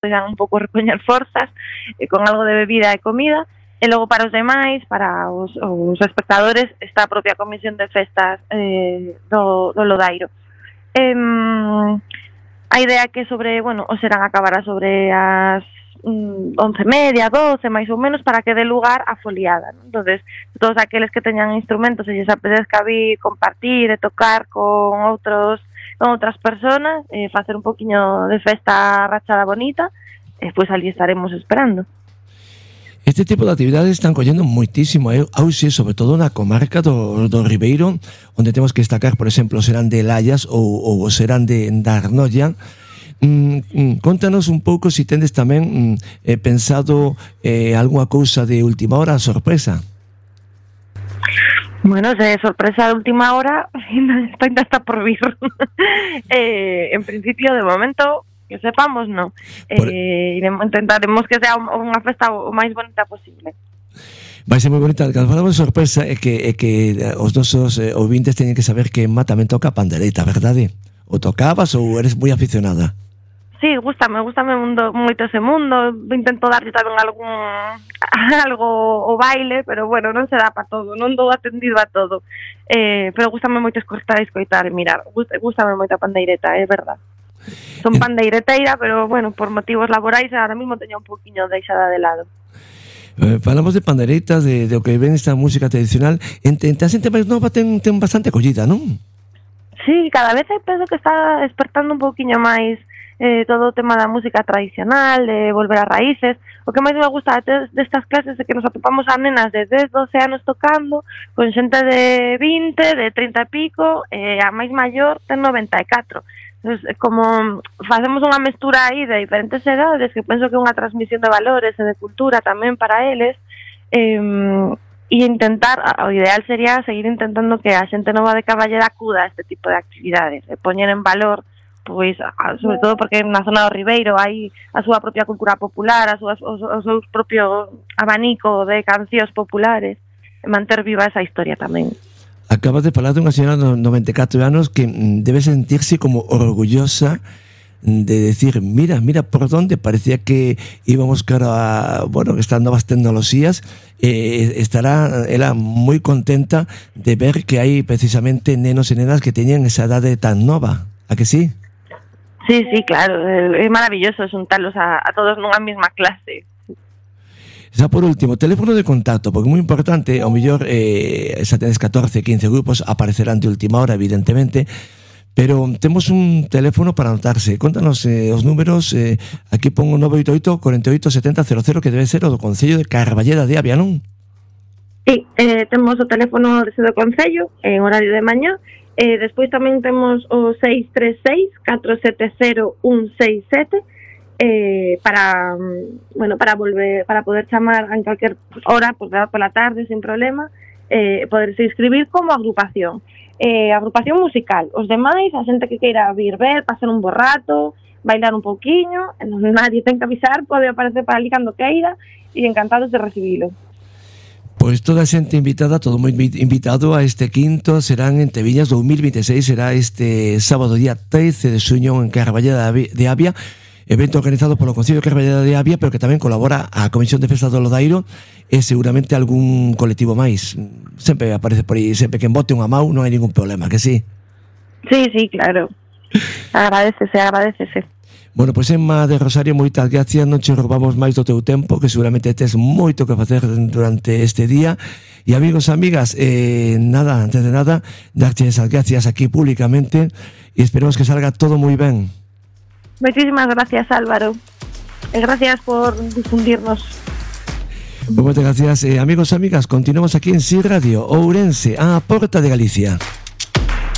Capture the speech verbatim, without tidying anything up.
poidan un pouco repoñer forzas, e con algo de bebida e comida. E logo para os demais, para os, os espectadores, está a propia comisión de festas eh, do, do Lodairo. Eh, a idea que sobre, bueno, o serán acabará sobre as mm, once e media, doce, máis ou menos, para que dé lugar a foliada, ¿no? Entonces, todos aqueles que teñan instrumentos e lles apetezca vir compartir e tocar con outros con outras personas, eh, facer un poquinho de festa rachada bonita, e pois ali estaremos esperando. Este tipo de actividades están collendo moitísimo eh, auxe, sobre todo na comarca do, do Ribeiro, onde temos que destacar, por exemplo, serán de Layas ou, ou serán de, de Arnoia. Mm, mm, contanos un pouco se si tendes tamén mm, eh, pensado eh, algunha cousa de última hora, sorpresa. Bueno, de sorpresa de última hora, ainda está por vir. eh, en principio, de momento, que sepamos, no. Por... Eh, intentaremos que sea unha festa o máis bonita posible. Vai ser moi bonita. Cando falamos de sorpresa é que, é que os nosos eh, ouvintes teñen que saber que Emma tamén toca a pandereta, verdade? O tocabas ou eres moi aficionada? Sí, gústame, gústame mundo, moito ese mundo. Intento darlle tamén algún algo o baile, pero bueno, non se dá para todo, non dou atendido a todo. Eh, pero gústame moito escoitar e escoitar e mirar. Gústame moito a pandeireta, é verdad. Son pandeireteira, pero bueno, por motivos laborais ahora mismo teño un poquinho deixada de lado. Eh, falamos de pandeiretas, de, de o que ven esta música tradicional. Entre a xente máis nova ten, ten bastante collida, non? Sí, cada vez penso que está despertando un poquinho máis eh, todo o tema da música tradicional, de volver a raíces. O que máis me gusta destas clases é que nos atopamos a nenas de dez, doce anos tocando, con xente de vinte, de trinta e pico, e a máis maior ten noventa e catro. Entonces, como facemos unha mestura aí de diferentes edades, que penso que é unha transmisión de valores e de cultura tamén para eles, eh, e intentar, o ideal sería seguir intentando que a xente nova de Carballeda acuda a este tipo de actividades, e poñer en valor, pois, sobre todo porque na zona do Ribeiro hai a súa propia cultura popular, as súas, os, os seus propios abanico de cancións populares, e manter viva esa historia tamén. Acabas de falar de unha señora de noventa e catro anos que debe sentirse como orgullosa de decir, mira, mira por donde parecía que íbamos cara a, bueno, estas novas tecnoloxías. Eh, estará ela moi contenta de ver que hai precisamente nenos e nenas que teñen esa edade tan nova, a que sí? Sí, sí, claro, é maravilloso xuntarlos a, a todos nunha mesma clase. Xa por último, teléfono de contacto, porque é moi importante, ao mellor eh, xa tenes catorce, quince grupos, aparecerán de última hora, evidentemente, pero temos un teléfono para anotarse. Contanos eh, os números, eh, aquí pongo nove oito oito, cuatro oito, sete cero cero cero, que debe ser o do Concello de Carballeda de Avia, non? Sí, eh, temos o teléfono do Concello en horario de mañá, eh, despois tamén temos o seis tres seis, catro sete cero, un seis sete, Eh, para bueno para volver para poder chamar en cualquier hora, pues, por la tarde sin problema, eh, poderse inscribir como agrupación eh, agrupación musical. Os demais, a xente que queira vir ver, pasar un bo rato, bailar un pouquiño, non nadie ten que avisar, pode aparecer para ali cando queira, e encantados de recibilo. Pois toda a xente invitada, todo moi invitado a este quinto Serán en Teviñas dos mil veintiséis, será este sábado día trece de xuño en Carballeda de Avia, evento organizado polo Concello de Carballeda de Avia, pero que tamén colabora a Comisión de Festas do Lodairo e seguramente algún colectivo máis. Sempre aparece por aí, sempre que bote unha mau non hai ningún problema, que sí? Sí, sí, claro. Agradecese, agradecese. Bueno, pois Emma de Rosario, moitas gracias, non che roubamos máis do teu tempo, que seguramente tes moito que facer durante este día. E amigos e amigas, eh, nada, antes de nada, darche esas gracias aquí públicamente e esperemos que salga todo moi ben. Muchísimas gracias, Álvaro. E gracias por difundirnos. Moitas gracias, eh, amigos e amigas. Continuamos aquí en Si Radio Ourense, a porta de Galicia.